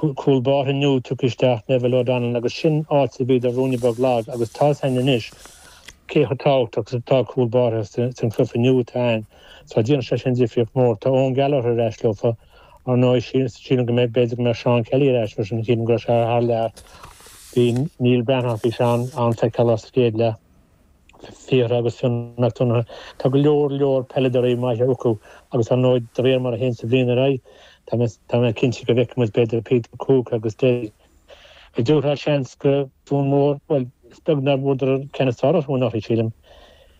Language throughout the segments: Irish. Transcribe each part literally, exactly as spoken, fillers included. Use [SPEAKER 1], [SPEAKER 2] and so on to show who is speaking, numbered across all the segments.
[SPEAKER 1] Cúl báire nua tugtha isteach, Neville O'Donnell, agus sin áit a bhíodar ruainne beag lag agus tá a fhios againn anois cé chomh tábhachtach is atá cúl báire san chluiche nua atá ann. So déanann sé sin difríocht mór. Tá Eoin Gallagher ar ais leofa, ar ndóigh sílim go mbeidh, b'fhéidir go mbeidh Seán Kelly ar ais freisin, sílim go raibh sé thar lear. Bhí Neil Breathnach, bhí sé an-fheiceálach sa chéad leath. Fiachra agus Fionn Mac Donncha. Tá go leor leor peileadóirí maithe acu agus ar ndóigh de réir mar a théann sa bhliain ar aghaidh, tá mé tá mé cinnte go bhfeicfidh muid b'fhéidir Peter Cooke agus Derry. An dtabharfá seans go Dún Mór, bhuel, is beag nár bhuadar an ceann is fearr orthu anuraidh, sílim,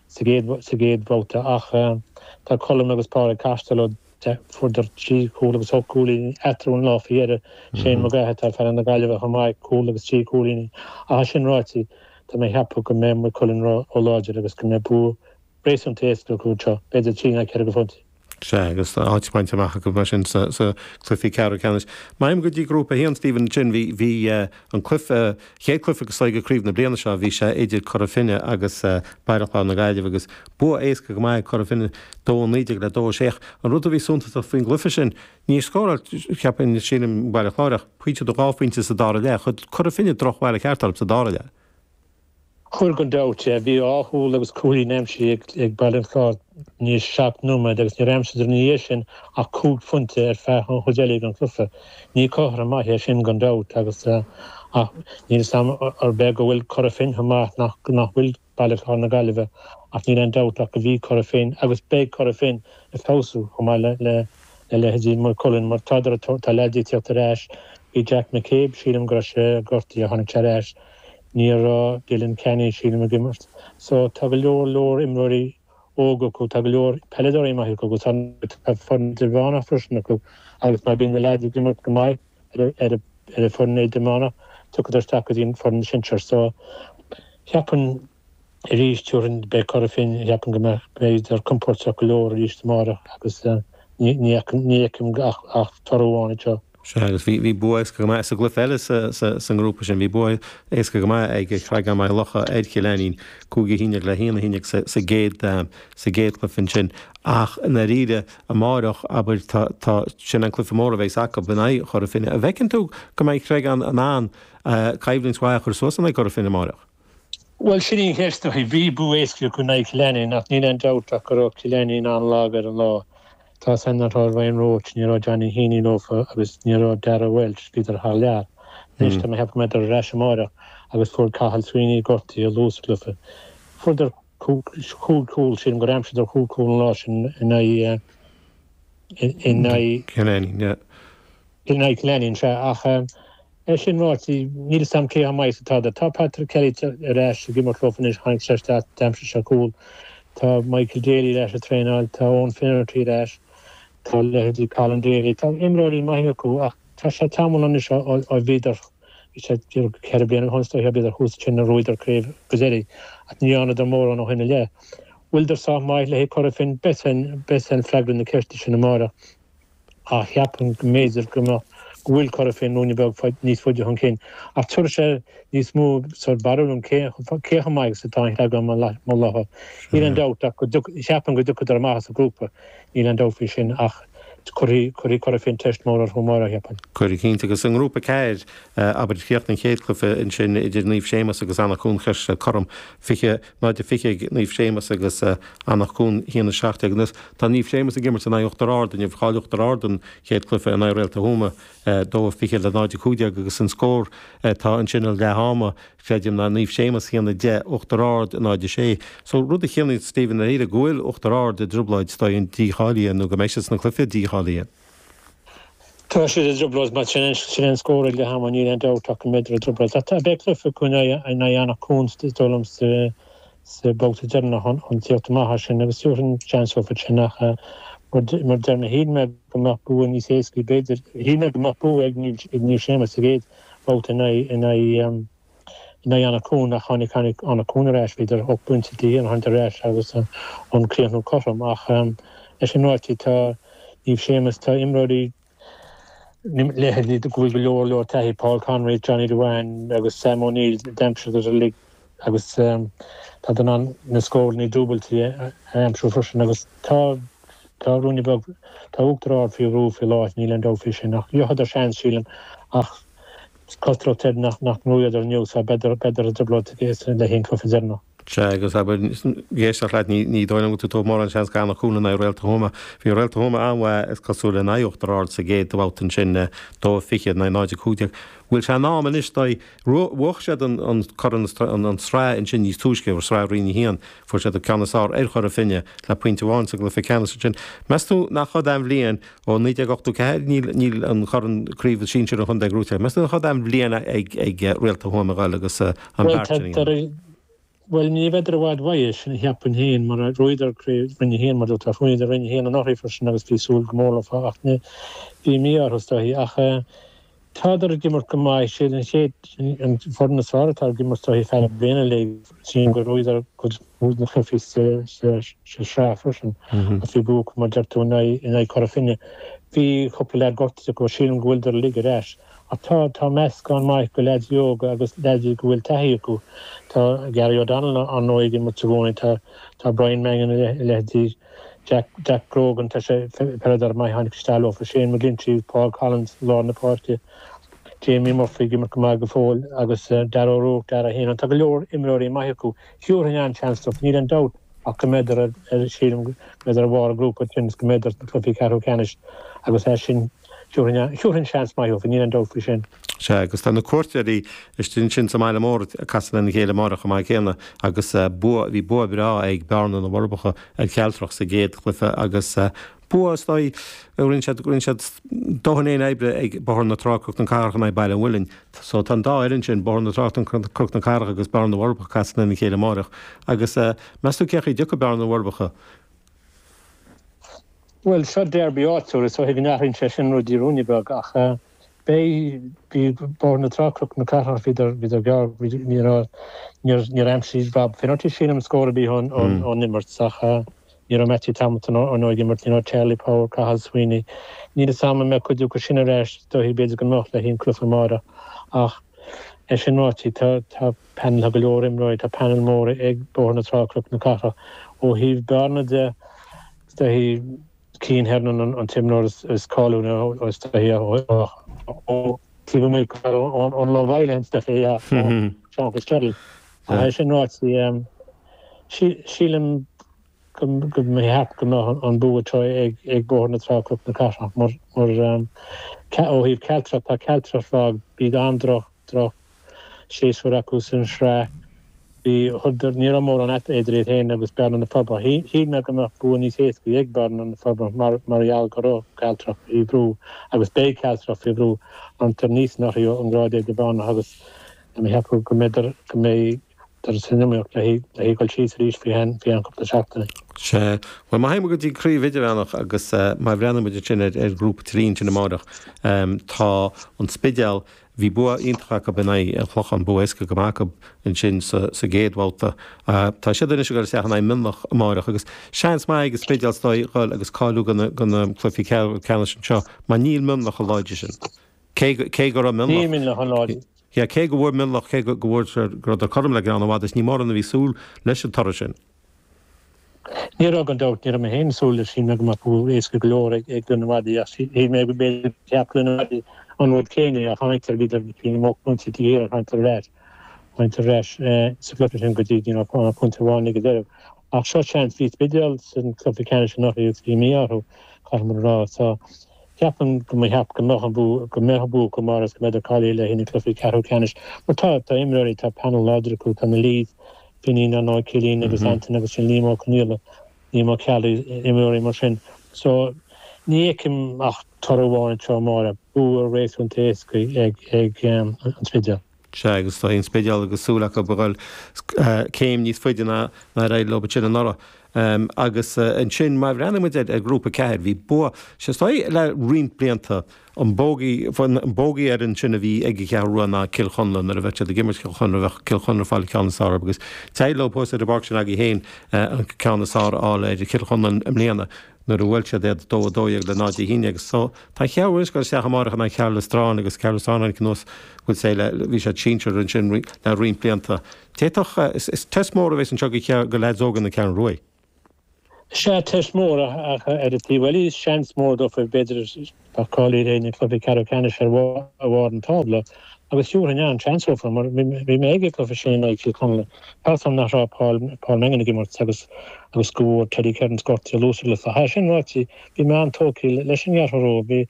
[SPEAKER 1] sa gcéad sa gcéad bhabhta ach tá Colm agus Pádraig Costello, fuaireadar trí chúl agus ocht gcúilín eatarthu an lá faoi dheireadh. Shane McGrath atá fear na Gaillimhe chomh maith, cúl agus trí chúilín. Ach é sin ráite, tá mé ag ceapadh go mbeidh Maigh Cuilinn ró-láidir agus go mbeidh bua réasúnta éasca acu anseo, b'fhéidir trí nó ceithre phointe.
[SPEAKER 2] Sea, agus tá áit bainte amach acu mar sin sa chluiche ceathrú ceannais. Má théim go dtí Grúpa a haon, Stephen, ansin bhí bhí an cluiche, chéad cluiche go sa craobh na bliana seo, bhí sé idir Cora Finne agus Baile Chláir na Gaillimhe agus bua éasca go maith ag Cora Finne dó a naoi déag le dó a sé. An rud a bhí suntasach faoin gcluiche sin, níor scóráil, cheapfainn, sílim, Baile Chláir ach pointe nó dhá phointe sa dara leath. Chuir Cora Finne drochbhail ceart orthu sa dara leath.
[SPEAKER 1] Chuir gan dabht. Bhí dhá chúl agus cúilín aimsithe ag Baile an Chláir i ndiaidh seacht nóiméad agus níor aimsíodar ina dhiaidh sin ach cúig phointe ar feadh an chuid eile den chluiche. Ní cothrom maith é sin gan dabht agus ach níl 'fhios a'm arb é go bhfuil Cora Finne chomh maith nach nach bhfuil Baile Chláir na Gaillimhe ach níl aon dabht ach go bhí Cora Finne agus beidh Cora Finne ag feabhsú chomh maith le le le leithéidí Maigh Cuilinn mar tá tá leaids ag tíocht ar ais. Bhí Jack McCabe, sílim go raibh sé gortaithe, tháinig sé ar ais. Ní raibh Dylan Kenny, sílim, ag imirt. So tá go leor leor imreoirí óga acu, tá go leor peileadóirí maithe acu agus tá foireann idirmheánach freisin acu agus má bhíonn na leaids ag imirt go maith ar ar ar an foireann idirmheánach, tiocfaidh isteach go dtí an foireann sinsear. So cheapfainn arís tabharfainn beidh Cora Finne, cheapfainn go mbeidh b'fhéidir compordach go leor arís amárach agus ní ní ní fheicim ach ach toradh amháin anseo.
[SPEAKER 2] Sea, agus bhí bhí bua éasca go maith sa gcluiche eile sa sa sa ngrúpa sin, bhí bua éasca go maith ag Creagán Maigh Locha ar Chill Ainnín, cúig a haon déag le haon a haon déag sa sa gcéad sa gcéad chluiche ansin. Ach i ndáiríre, amárach, abair, tá tá sin an cluiche mór a bheas acu in aghaidh Chora Finne. An bhfeiceann tú go mbeidh Creagán in ann coimhlint mhaith a chur suas in aghaidh Chora Finne amárach?
[SPEAKER 1] Bhuel, sin í an cheist, bhí bua éasca acu in aghaidh Chill Ainnín ach níl aon dabht ach go raibh Cill Ainnín an-lag ar an lá. Tá san nach raibh Ryan Roche, ní raibh Johnny Heaney leofa agus ní raibh Dara Welch, bhíodar thar lear. Anois tá mé ag ceapadh go mbeidh ar ais amárach agus fuair Cathal Sweeney gortaithe luath sa gcluiche. Fuaireadar cúig chúl, sílim gur aimsíodar cúig chúl an lá sin in aghaidh in aghaidh
[SPEAKER 2] Cill Ainnín, yeah.
[SPEAKER 1] In aghaidh Cill Ainnín, sea, ach é sin ráite, níl 'fhios a'm cé chomh maith is atá. Tá Patrick Kelly ar ais ag imirt leofa anois, tháinig sé isteach, d'aimsigh sé cúl. Tá Michael Daly ar ais ag traenáil, tá Owen Finnerty ar ais, tá leithéidí Colin Daly, tá imreoirí maithe acu ach tá sé tamall anois ó bhíodar, bhí sé ceithre bliana ó shin, bhíodar thuas ansin a bhuadar craobh go deireadh ach ní dhearnadar mórán ó shin i leith. Bhfuileadar sách maith le haghaidh Cora Finne? Beidh an freagra na ceiste sin amárach. Ach cheapfainn go mb'fhéidir go mbeadh go bhfuil Cora Finne ruainne beag níos faide chun cinn. Ach tabharfaidh sé níos mó sórt barúil dom cé cé chomh maith agus atá an Creagán Maigh Locha. Níl aon dabht ach go cheapfainn go dtiocfadar amach as an ghrúpa, níl aon dabht faoi sin ach cuirfidh cuirfidh Cora Finne teist mór orthu amárach, cheapfainn.
[SPEAKER 2] Cuirfidh cinnte agus i ngrúpa ceathair, abair, chríochnaigh an chéad chluiche ansin idir Naomh Séamus agus Eanach Dhúin Church cothrom fiche náid a fiche ag Naomh Séamus agus Eanach Dhúin a haon a seacht déag. Anois tá Naomh Séamus ag imirt in aghaidh Uachtar Ard inniu. Chaill Uachtar Ard an chéad chluiche in aghaidh Réalta Thuama, dó a fiche le náid a cúig déag agus an scór atá ansin ag leath ama, creidim, ná Naomh Séamus a haon a deich, Uachtar Ard náid a sé. So rud a chiallaíonn Stephen i ndáiríre go bhfuil Uachtar Ard i dtrioblóid is dóigh dícháilithe nó go mbeidh siad sna cluiche dícháilithe.
[SPEAKER 1] Tá siad i dtrioblóid mar sin sin an scór ag leath ama, níl aon dabht ach go mbeidh i dtrioblóid. Tá beidh cluiche acu in aghaidh Eanach Cuain is dóigh liom sa sa babhta deireanach chun tíocht amach as sin agus tabharfainn seans dófa sin ach mar deir mé shíl mé go mbeadh bua níos éascaí b'fhéidir shíl mé go mbeadh bua ag Naomh Séamus sa gcéad babhta in aghaidh in aghaidh in aghaidh Eanach Cuain ach tháinig tháinig Eanach Cuain ar ais bhíodar ocht bpointe chun cinn ar ais agus an críochnú cothrom ach leis sin ráite tá Naomh Séamus tá imreoirí leithéidí go bhfuil go leor leor taithí Paul Conroy, Johnny Devane agus Sam O'Neill d'aimsíodar uilig agus tá in ann na scóranna dúbailtí a aimsiú freisin agus tá tá ruainne beag tá Uachtar Ard faoi bhrú faoi láthair níl aon dabht faoi sin ach gheobhadar seans sílim Ach cosúlacht air nach nach mbuadar inniu so b'fhéidir b'fhéidir i dtrioblóid le haghaidh an cluiche deireanach.
[SPEAKER 2] Sea, agus abair, ag éisteacht leat, ní ní dóigh liom go bhfuil tú ag tabhairt mórán seans d'Eanach Cuain in aghaidh Réalta Thuama. Bhí Réalta Thuama an-mhaith, is cosúil, in aghaidh Uachtar Ard sa gcéad bhabhta ansin, dó a fiche in aghaidh náid a cúig déag. Bhfuil sé in am anois dóibh? Bhuaigh siad an an corn an an tsraith ansin níos túisce, sraith Roinn a haon, fuair siad an ceann is fearr ar Chora Finne le pointe amháin sa gcluiche ceannais ansin. Meas tú nach iod é an bhliain ó naoi déag ochtó ceathair níl níl an chorn craobh sinsir an chontae gnóthaithe. Meas tú nach iod é an bhliain ag ag Réalta Thuama a ghoil agus an
[SPEAKER 1] Bhuel
[SPEAKER 2] beart sin a dhéanamh?
[SPEAKER 1] Bhuel ní bheidar i bhfad uaidh, sin a cheapfainn féin, mar bhuadar craobh Roinn a haon, mar dúirt tú, bhuadar Roinn a haon anuraidh freisin agus bhí súil go mór leo ach ní, bhí mí-ádh orthu is dóichí. Ach tádar ag imirt go maith, siad an chéad, an foireann is fearr atá ag imirt is dóichí feadh na bliana uilig, sílim gur bhuadar cuid mhór de na cluichí sa, sa, sa sraith freisin agus bhí bua acu, mar deir tú, in aghaidh, in aghaidh Chora Finne. Bhí cúpla leaid gortaithe acu, sílim go bhfuildear uilig ar ais. Ach tá, tá meascán maith de leaids óga agus leaids go bhfuil taithí acu. Tá Gary O'Donnell ar ndóigh ag imirt i gcónaí, tá, tá Brian Mangan a leithéidí, Jack, Jack Grogan, tá sé, peileadóir maith a tháinig isteach leofa, Shane McGlinchey, Paul Collins, lár na páirce, Jamie Murphy ag imirt go maith go fóill agus Darragh O'Rourke, Darragh Hennon. Tá go leor imreoirí maithe acu. Thiúrfainn an-seans dóibh, níl aon dabht ach go mbeidar ar, ar, sílim go mbeidar ar bharr an ghrúpa ansin is go mbeidar sna cluichí ceathrú ceannais agus é sin Thiúrfainn seans maith dóibh, níl aon dabht faoi sin.
[SPEAKER 2] Sea, agus tá na cuairteoirí istigh ansin sa mbaile mór ag casadh lena chéile amárach chomh maith céanna agus bua, bhí bua breá ag Bearna na bhForbacha ar Chealtrach sa gcéad chluiche agus bua is dóigh, rinne siad, rinne siad dóthain féin oibre ag Bóthar na Trá, Cnoc na Cathrach in aghaidh Baile an Mhuilinn. So tá an dá fhoireann sin, Bóthar na Trá, Cnoc na Cathrach agus Bearna na bhForbacha ag casadh lena chéile amárach. Agus meas tú cén chaoi a dtiocfaidh Bearna na bhForbacha?
[SPEAKER 1] Bhuel, seo derby áitiúil, is dóiche go n-athraíonn sé sin rudaí ruainne beag, ach beidh, bhí Bóthar na Trá, Cnoc na Cathrach, bhíodar, bhíodar gearr, bhí, ní raibh, níor, níor aimsigh Rob Finnerty, sílim, scór ar bith ón, ón, ón imirt, ach ní raibh Mattie Tomlinson ar ndóigh ag imirt, ní raibh Charlie Power, Cathal Sweeney, níl fhios a'm an mbeidh cuid acu sin ar ais, is dóiche, b'fhéidir go mbeadh le haghaidh an cluiche amárach, ach é sin ráite, tá, tá panel, tá go leor imreoirí, tá panel mór ag Bóthar na Trá, Cnoc na Cathrach. Ó thaobh Bearna de, is dóiche, Cian Hernon an t-imreoir is cáiliúla is dóiche ó taobh amuigh ón Love Island is dóiche, yeah, ó Sean Fitzgerald. Ach é sin ráite, sílim go mbeadh go mbeadh an bua anseo ag Bóthar na Trá, Cnoc na Cathrach mar ó thaobh Cealtrach, tá Cealtrach lag, bhí an-droch, droch séasúr acu san sraith. Bhí, ní raibh mórán idir iad féin agus Bearna na Forbacha. Shíl mé go mbeadh bua níos éascaí ag Bearna na Forbacha mar mar gheall go raibh Cealtrach faoi bhrú agus beidh Cealtrach faoi bhrú Hunter Neeson orthu ón ngrád idirmheánach agus tá mé ag ceapadh go mbeidh go mbeidh san iomaíocht le haghaidh dul síos arís faoi cheann cúpla seachtaine.
[SPEAKER 2] Sea. Bhuel, má théann muid go dtí craobh idirmheánach agus má bhreathnaíonn muid ansin ar ar ghrúpa trí ansin amárach, tá an Spidéal, Bhí bua iontach acu in aghaidh an Chlocháin, bua éasca go maith acu ansin sa gcéad bhabhta. Tá siad anois ag dul isteach in aghaidh Mionlach amárach agus seans maith ag an Spidéal is dóigh dhul agus cáiliú do na cluichí ceannais anseo mar níl Mionlach chomh láidir sin. Cé cé go raibh Mionlach.
[SPEAKER 1] Níl Mionlach chomh láidir.
[SPEAKER 2] Yeah, cé go bhfuair Mionlach, cé go bhfuair go rabhadar cothrom le Gleann an Mhadaidh, ní mórán a bhí súil leis an toradh sin.
[SPEAKER 1] Ní raibh gan dabht, ní raibh mé féin ag súil leis, shíl mé go mbeadh bua éasca go leor ag Gleann an Mhadaidh ach shíl mé go mb'fhéidir cheap Gleann an Mhadaidh an rud céanna ach tháinig bhíodar bhí mo pointe taobh thiar tháinig ar ais tháinig ar ais sa gcluiche sin go dtí ní raibh ach pointe amháin ag an deireadh. Ach seo seans, bhí Spidéal san cluiche ceannais anuraidh agus bhí mí-ádh orthu, caithfidh muid a rá. So ceapaim go mbeadh go mbeadh an bua go mbeadh an bua acu amárach agus go mbeidh cáilithe le haghaidh na cluichí ceathrú ceannais. Mar tá tá imreoirí tá panel láidir acu, tá na Lees, Finín, ar ndóigh, Cillian agus Anton agus sin Liam Ó Conghaile, Liam Ó Ceallaigh, imreoirí mar sin. So, ní fheicim ach toradh amháin anseo amárach, bua réasúnta éasca ag ag an Spidéal.
[SPEAKER 2] Sea, agus tá an Spidéal agus súil acu a dhul céim níos faide ná ar éirigh leo ansin anuraidh. Agus ansin, má bhreathnaíonn muid ar Ghrúpa ceathair, bhí bua, is dóigh le roinnt blianta, An bogey, an bogey fhoireann sin a bhí ag an Cheathrú Rua ná Cill Chonla nuair a bheadh siad ag imirt Cill Chonla, bheadh Cill Chonla ag fáil an ceann is fearr orthu agus d'éirigh leo thuas ar an bpáirc sin agaibh féin an ceann is fearr a fháil ar Chill Chonla i mbliana nuair a bhuail siad iad dó a dó dhéag le náid a haon déag. So tá an Cheathrú Rua anois ag dul isteach amárach in aghaidh Cheathrú Stráin agus Ceathrú Stráin tháinig anuas bhfuil sé le bhí siad sinsir ansin le roinnt blianta. D'fhéadfadh, is test mór a bheas anseo do leaids óga na Ceathrún Rua.
[SPEAKER 1] Sea, teist mór ach ar an taobh eile seans mór dófa b'fhéidir bheadh cáilithe le haghaidh cluiche ceathrú ceannais ar bharr an tábla agus thiúrfainn an-seans dófa mar bhí mé ag an gcluiche sin in aghaidh Chill Chonla. Tá 's agam nach raibh Paul Paul Mangan ag imirt agus agus go bhfuair Teddy Kerins gortú luath sa gcluiche. Ach sin ráite, bhí mé an-tógtha leis an gCeathrú Rua. Bhí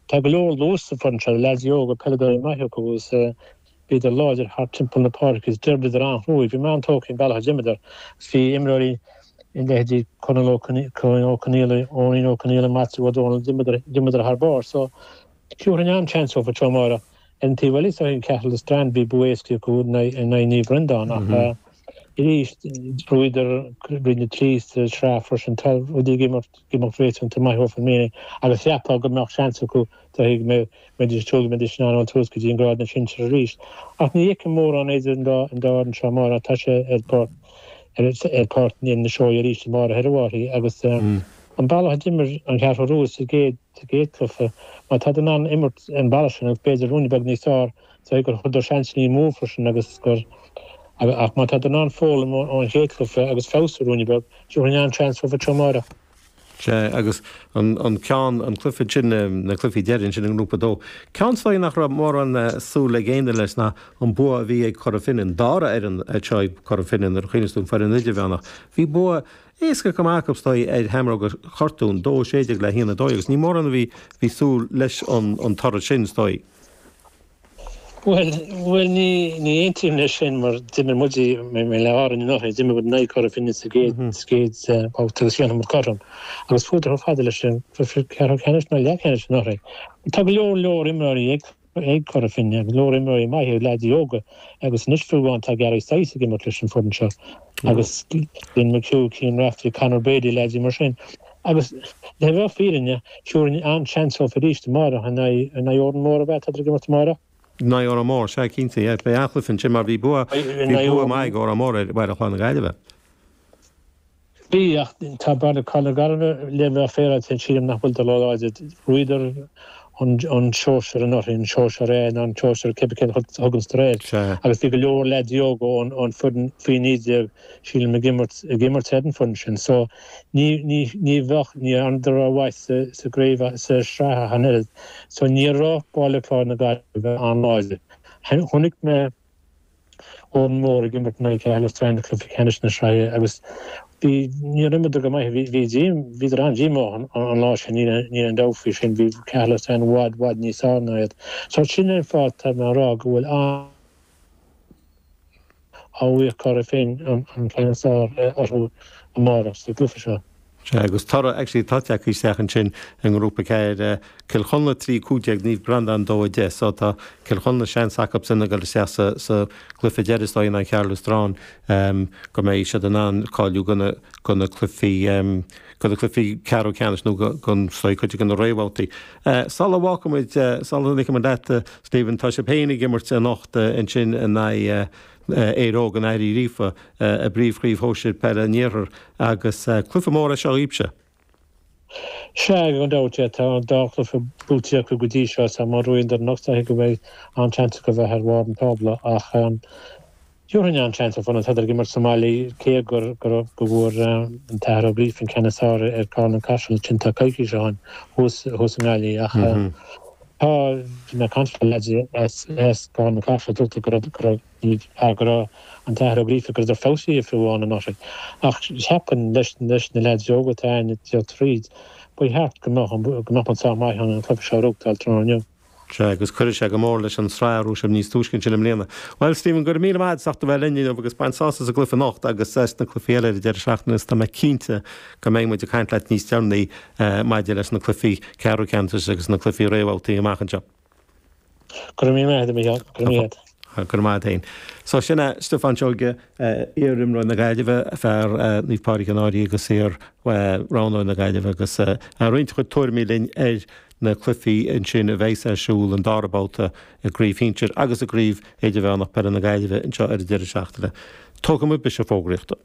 [SPEAKER 1] tá go leor luas sa bhfoireann seo, leaids óga, peileadóirí maithe acu agus bhíodar láidir thart timpeall na páirce agus d'oibríodar an-chruaidh. Bhí mé an-tógtha an bealach a d'imríodar agus bhí imreoirí i leithéidí Conall Ó Conaola, Eoinín Ó Conaola, Matthew Ó Dónaill, d'imríodar thar barr. So, thiúrfainn an-seans dófa tráthnóna amárach. Ar an taobh eile, is dóigh, Caherlistrane, bhí bua éasca acu in aghaidh Naomh Breandán ach arís, bhuadar Roinn a trí sa tsraith freisin. Tá rudaí ag imeacht ag imeacht réasúnta maith dófa i mbliana agus cheapfá go mbeadh seans acu dóigh go mbeidís ag súil go mbeidís in ann dul suas go dtí an grád na sinsear arís. Ach ní fheicim mórán idir an dá fhoireann seo amárach. Tá sé ar páirc ar Pháirc na Seoighe arís amárach ar a bharr agus an bealach a d'imir an Cheathrú Rua sa gcéad cluiche, má tá in ann imirt an bealach sin agus b'fhéidir ruainne beag níos fearr, is dóigh gur chuireadar seansanna amú freisin agus gur ach má tá in ann foghlaim ón chéad chluiche agus feabhsú ruainne beag, tabharfainn an-seans dóibh amárach.
[SPEAKER 2] Sea, agus an ceann, an cluiche sin, na cluichí deiridh ansin i nGrúpa a dó, ceann is dóigh nach raibh mórán súil ag éinne leis ná an bua a bhí ag Cora Finne, an dara fhoireann anseo ag Cora Finne nuair a chuimhníos tú an foireann idirmheánach. Bhí bua éasca go maith acu is dóigh ar Sheamróga Chortúin, dó a sé déag le a haon a dó dhéag, agus ní mórán a bhí, bhí súil leis an toradh sin is dóigh.
[SPEAKER 1] Bhuel, bhuel ní, ní aontaím leis sin mar d'imir muid le Árainn anuraidh, d'imir muid in aghaidh Cora Finne sa gcéad, sa gcéad babhta agus dhéanamar cothrom agus fuadar chomh fada leis an gcluiche ceathrú ceannais nó leathcheannais anuraidh. Tá go leor leor imreoirí ag, ag Cora Finne, go leor imreoirí maithe, leaids óga agus anois fiú amháin tá Gary Sice ag imirt leis an foireann seo agus Glenn McHugh, Cian Raftery, Conor Brady, leaids mar sin. Agus le bheith fírinneach, thiúrfainn an-seans dóibh arís amárach in aghaidh, in aghaidh Órán Mór ab ea, tá ag imirt amárach?
[SPEAKER 2] In aghaidh Órán Mór, sea, cinnte, yeah. Beidh an-chluiche ansin mar bhí bua, bhí bua maith ag Órán Mór ar Bhaile Chláir na Gaillimhe.
[SPEAKER 1] Bhí, ach tá Baile Chláir na Gaillimhe le bheith féaráilte, sílim nach bhfuil róláidir. Bhuadar an an sóisear anuraidh, an sóisear A nó an sóisear cibé cén a thugann tú air. Agus bhí go leor leaids óga ón ón foireann faoi naoi déag, sílim, ag imirt ag imirt ar an foireann sin. So ní ní ní bheadh, ní dhearnadar rómhaith sa sa gcraobh sa sraith ach an oiread. So ní raibh Baile Chláir na Gaillimhe an-láidir. Chonaic mé Órán Mór ag imirt in aghaidh Caherlistrane i gcluiche ceannais na sraithe agus bhí, níor imríodar go maith, bhí, bhí díom, bhíodar an-díomách an, an lá sin, níl, níl aon dabht faoi sin, bhí Caherlistrane i bhfad, bhfad níos fearr ná iad. So sin é an fáth tá mé ag rá go bhfuil an, a bhfuair Cora Finne an ceann is fearr orthu amárach sa gcluiche seo.
[SPEAKER 2] Sea, agus toradh actually atá tagtha isteach ansin i nGrúpa ceathair, Cill Chonla trí cúig déag, Naomh Breandán dó a deich. So tá Cill Chonla seans acubsan a dhul isteach sa sa gcluiche deiridh is dóigh in aghaidh Chaherlistrane go mbeidh siad in ann cáiliú go na go na cluichí go na cluichí ceathrú ceannais nó go go is dóigh cuid de na réamhbhabhtaí. Sula bhfágfaimid, sula ligfimid leat, Stephen, tá sibh féin ag imirt anocht ansin in aghaidh Éire Óg an Aire Uí Ghríofa i bPríomh-Chraobh Shóisir Peile an Iarthair agus cluiche mór é seo dhaoibhse.
[SPEAKER 1] Sea, gan dabht, tá an dá chluiche buaite acu go dtí seo so má bhuann anocht is dóigh go mbeidh an-seans acu bheith ar bharr an tábla ach thabharfainn an-seans ar fud an tádar ag imirt sa mbaile cé gur go bhfuair an tAthair Ó Gríofa an ceann is fearr ar Carna Caiseal ansin tá coicís ó shin thuas thuas i nGaillimh ach tá bhí mé ag caint le leaids as as Carna Caiseal dúirt go raibh go raibh go raibh an tAthair Ó Gríofa go rabhadar feabhsaithe fiú amháin anuraidh. Ach cheapfainn leis leis na leaids óga atá ann ag dul tríd, ba cheart go mbeadh go mbeadh muid sách maith chun an cluiche seo a ghnóthachtáil tráthnóna inniu.
[SPEAKER 2] Sea, agus cuirfidh sé go mór leis an tsraith a raibh sibh níos túisce ansin i mbliana. Bhuel, Stephen, go raibh míle maith agat as ucht a bheith linn inniu agus bain sásamh as an gcluiche anocht agus as na cluichí eile ar an deireadh seachtaine agus tá mé cinnte go mbeidh muid ag caint leat níos deireanaí maidir leis na cluichí ceathrú ceannais agus na cluichí réamhbhabhtaí amach anseo.
[SPEAKER 1] Go raibh míle maith agat, a Mhícheáil. Go raibh míle agat.
[SPEAKER 2] Go raibh maith agat féin. So sin é Stiofán Seoige, iar-imreoir na Gaillimhe, fear Naomh Pádraig an Fhairche agus iar-roghnóir na Gaillimhe agus ag roinnt a chuid tuairimí linn ar na cluichí ansin a bheas ar siúl an dara babhta i gCraobh Shinsir agus i gCraobh Idirmheánach Peile na Gaillimhe anseo ar an deireadh seachtaine. Tógfaidh muid briseadh fógraíochta.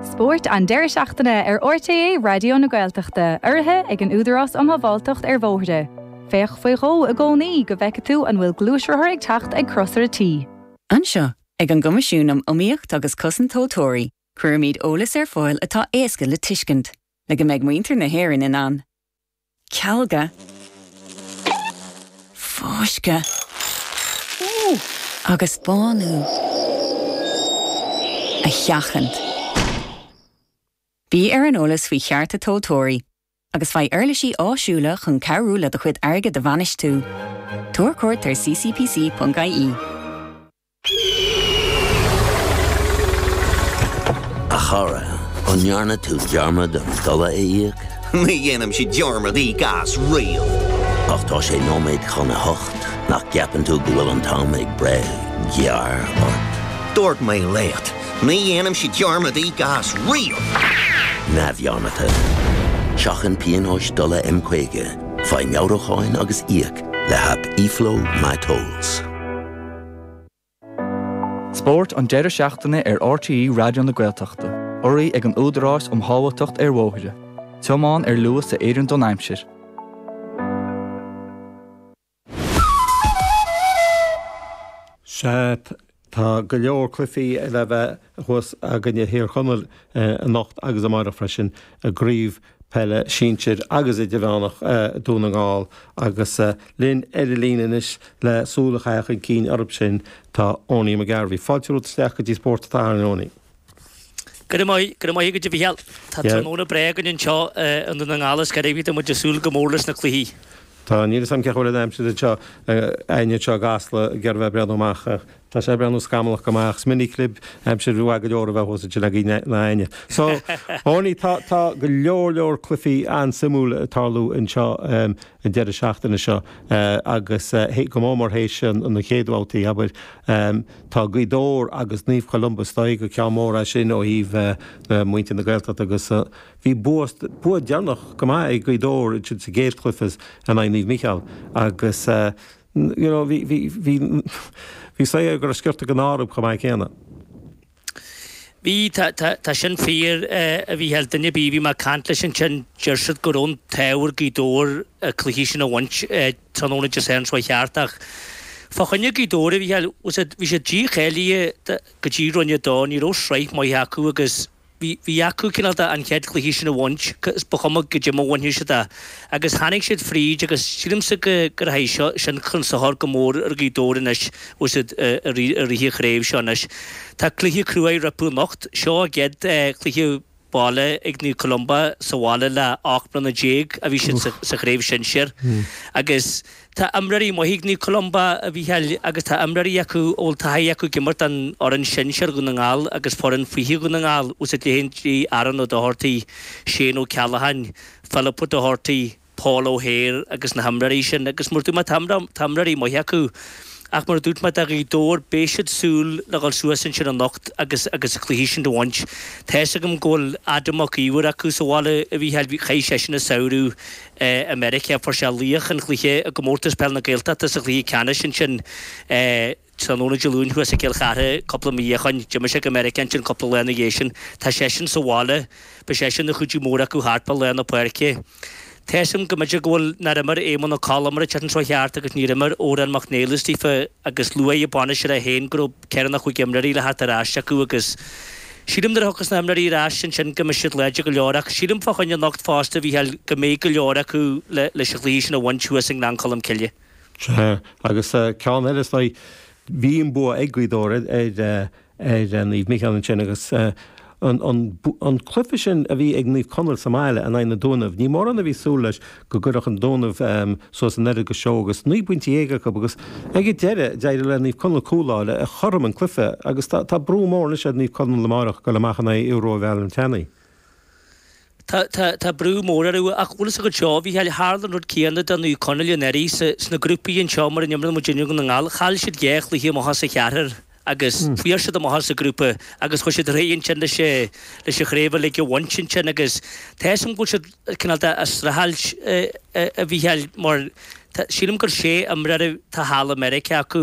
[SPEAKER 3] Spórt an deireadh seachtaine ar RTÉ Raidió na Gaeltachta, urraithe ag an Údarás um Shábháilteacht ar Bhóithre. Féach faoi dhó i gcónaí go bhfeice tú an bhfuil gluaisrothar ag teacht ag Crosaire T.
[SPEAKER 4] Anseo,
[SPEAKER 3] Ag an gCoimisiún um Iomaíocht agus Cosaint Tomhaltóirí, cuirimid eolas ar fáil atá éasca le tuiscint, le go mbeidh muintir na hÉireann in ann. Cealga, fáisceadh agus bánú a sheachaint. Bí ar an eolas faoi chearta tomhaltóirí, agus faigh uirlisí áisiúla chun cabhrú le do chuid airgid a bhainistiú. Tabhair cuairt ar ccpc.ie.
[SPEAKER 4] A chara, an ndearna tú dearmad an dola a íoc?
[SPEAKER 5] Ní dhéanaimse dearmad íoc as riamh.
[SPEAKER 4] Ach tá sé nóiméad chun a hocht, nach gceapann tú go bhfuil an t-am ag breith gearr ort?
[SPEAKER 5] Dúirt mé leat, ní dhéanaimse dearmad íoc as riamh.
[SPEAKER 4] Neamhdhearmadta. Seachain pionóis dola M caoga, faigh meabhrúcháin agus íoc le haip eFlow MyTolls.
[SPEAKER 6] Spórt an deireadh seachtaine ar RTÉ Raidió na Gaeltachta, urraithe ag an Údarás um Shábháilteacht ar Bhóithre. Tiomáin ar luas a oireann don aimsir.
[SPEAKER 2] Sea, tá go leor cluichí le bheith thuas againne i Thír Chonaill anocht agus amárach freisin, i gCraobh Peile Sinsir agus Idirmheánach Dún na nGall agus linn ar an líne anois le súil a chaitheamh chun cinn orthu sin tá Owenie McGarvey. Fáilte romhat isteach go dtí Spórt an tSathairn, Owenie.
[SPEAKER 7] Go raibh maith, go raibh maith agat a Mhícheáil. Tá tráthnóna breá againn anseo i nDún na nGall is cad é tá muid ag súil go mór leis na cluichí.
[SPEAKER 2] Tá, níl 'fhios a'm cén chaoi a bhfuil an aimsir anseo, againne anseo i gCasla, ag iarraidh bheith ag breathnú amach ach tá sé ag breathnú scamallach go maith ach is minic libh aimsir mhaith go leor a bheith thuas ansin agaibh ná éinne. So, Owenie, tá, tá go leor leor cluichí an-suimiúil ag tarlú anseo an deireadh seachtaine seo agus go mór mór théis na chéad bhabhtaí, abair. Tá Gaoth Dobhair agus Naomh Columba is dóigh gur ceann mór é sin ó thaobh muintir na Gaeltachta agus Bhí bua, bua deireanach go maith ag Gaoth Dobhair ansin sa gcéad chluiche in aghaidh Naomh Mícheál agus you know bhí, bhí, bhí, bhí saothar go raibh sciorta den ádh orthu chomh maith céanna.
[SPEAKER 7] Bhí, tá, tá, tá sin fíor a Mhícheáil, duine ar bith a bhí mé ag caint leis ansin deir siad go raibh an t-ádh ar Ghaoth Dobhair an cluiche sin a bhaint tráthnóna Dé Sathairn seo cheart ach fá choinne Gaoth Dobhair a Mhícheáil, bhí siad dícháilithe go dtí Roinn a dó, ní raibh sraith maith acu agus Bhí, bhí acu cineál de an chéad chluiche sin a bhaint, is ba chuma goidé mar a bhainfeadh siad é. Agus tháinig siad fríd agus sílimse go, go rachaidh seo, sin chun sochair go mór ar Ghaoth Dobhair anois, bhfuil siad i rith, i rith an chraobh seo anois. Tá cluiche cruaidh rompu anocht. Seo a gcéad chluiche baile ag Naomh Columba sa bhaile le ocht mbliana déag a bhí siad sa, sa chraobh shinsir. Agus Tá imreoirí maithe ag Naomh Columba, a Mhícheáil, agus tá imreoirí acu a bhfuil taithí acu ag imirt don fhoireann sinsir Dhún na nGall agus foireann fiche Dhún na nGall, bhfuil a fhios agat leithéidí Aaron Ó Dochartaigh, Shane Ó Ceallacháin, Philip Ó Dochartaigh, Paul O'Hare agus na himreoirí sin agus mar a dúirt mé tá tá imreoirí maithe acu ach mar a dúirt mé do Ghaoth Dobhair beidh siad súil le dhul suas ansin anocht agus agus an cluiche sin a bhaint. Tá fhios agam go bhfuil Adam Mac Íomhair acu sa bhaile a Mhícheáil, chaith seisean an samhradh i Meiriceá. Fuair sé laoch an chluiche i gComórtas Peile na Gaeltachta sa chluiche ceannais ansin tráthnóna Dé Luain thuas i gCill Chartha cúpla mí ó shoin. D'imigh sé go Meiriceá ansin cúpla lá ina dhiaidh sin. Tá seisean sa bhaile. Beidh seisean ina chuidiú mór acu thart fá lár na páirce. Tá fhios agam go mb'fhéidir go bhfuil nár imir Éamonn Ó Colm an tseachtain seo cheart agus níor imir Odhrán Mac Niallais daofa agus luaigh an bainisteoir é féin go raibh ceithre nó chúig imreoirí le theacht ar ais acu agus Sílim nuair a thiocfas na himreoirí ar ais ansin go mbeidh siad láidir go leor ach sílim fá choinne anocht fosta, a Mhícheáil, go mbeidh go leor acu leis an chluiche sin a bhaint thuas i nGleann Cholm Cille.
[SPEAKER 2] Sea, agus ceann eile is dóigh, bhí an bua ag Gaoth Dobhair ar ar Naomh Mícheál ansin agus An cluiche sin a bhí ag Naomh Conaill sa mbaile in aghaidh na Dúnaibh, ní mórán a bhí súil leis go gcuirfeadh an Dúnaibh suas an oiread go seó agus naoi bpointe dhéag acu agus ag an deireadh d'éirigh le Naomh Conaill cúl a fháil a chothrom an cluiche agus tá brú mór anois ar Naomh Conaill amárach dul amach in aghaidh Aodh Rua Bhéal an tSeanaidh.
[SPEAKER 7] Tá, tá, tá brú mór orthu ach bhfuil fhios agat seo, a Mhícheáil, tharla an rud céanna do Naomh Conaill anuraidh sna grúpaí anseo mar a n-imríonn muid i nDún na nGall. Chaill siad dhá chluiche amach as a cheathrar. agus fuair siad amach as an ghrúpa agus chuaigh siad ar aghaidh ansin leis leis an chraobh uilig a bhaint ansin agus tá fhios agam go bhfuil siad cineál de ag streachailt a Mhícheáil mar tá sílim gur sé imreoir atá thall i Meiriceá acu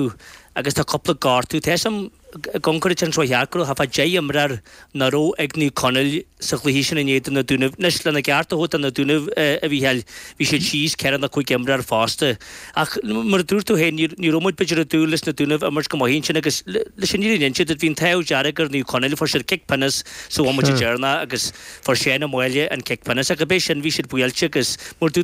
[SPEAKER 7] agus tá cúpla gortú tá fhios agam ag amharc air ansin seo cheart go raibh thart fá deich imreoir nach raibh ag Naomh Conaill sa chluiche sin in éadan na Dúnaibh. Anois, lena gceart a thabhairt do na Dúnaibh, a Mhícheáil, bhí siad síos ceithre nó cúig imreoir fosta. Ach mar a dúirt tú féin, ní raibh muid b'fhéidir ag dúil leis na Dúnaibh imirt go maith ansin agus leis an fhírinne a inse duit, bhí an t-ádh dearg ar Naomh Conaill, fuair siad cic pionóis sa bhomaite deireanach agus fuair Seán Ó Máille an cic pionóis. Ach ab é sin, bhí siad buailte agus mar a dúirt tú